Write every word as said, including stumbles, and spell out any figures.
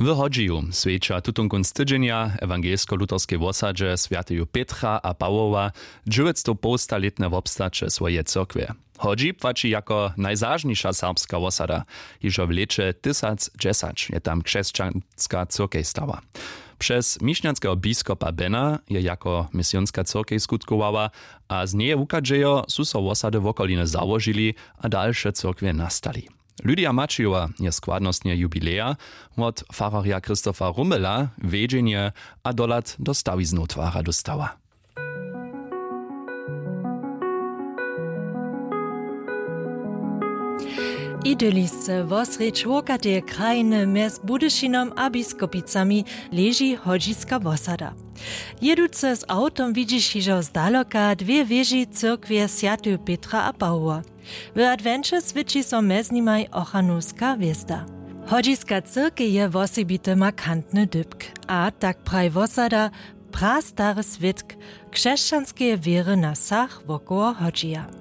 W Hodźiju swjeća tutón kónc tydźenja w ewangelsko-luterskej wosadźe swjateju Pětra a Pawoła dźewjećstowpołstalětne wobstaće swojeje cyrkwje. Hodźi płaći jako najzažniša serbska wosada. Hižo w lěće tysacdźesać je tam křesćanska cyrkej stała. Přez mišnjanskeho biskopa Bena je jako misionska cyrkej skutkowała, a z njeje wuchadźejo su so wosady wokoliny załožili a dalše cyrkwje nastali. Lydia Maćijowa je składnostnje jubileja wot fararja Christopha Rummela wjedźenje a dohlad do stawiznow twara dóstała. Idylisce wosrjedź wokateje krajiny mjez Budyšinom a Biskopicami leži Hodźiska wosada. Jěduce z awtom widźiš hižo zdaloka dwě wěži cyrkwje swjateju Pětra a Pawoła. W adwenće swěći so mjez nimaj ochranowska hwězda. Hodźiska cyrkej je wosebity markantny dypk, a tak praji wosada, prastary swědk křesćanskeje wěry na wsach wokoło Hodźija.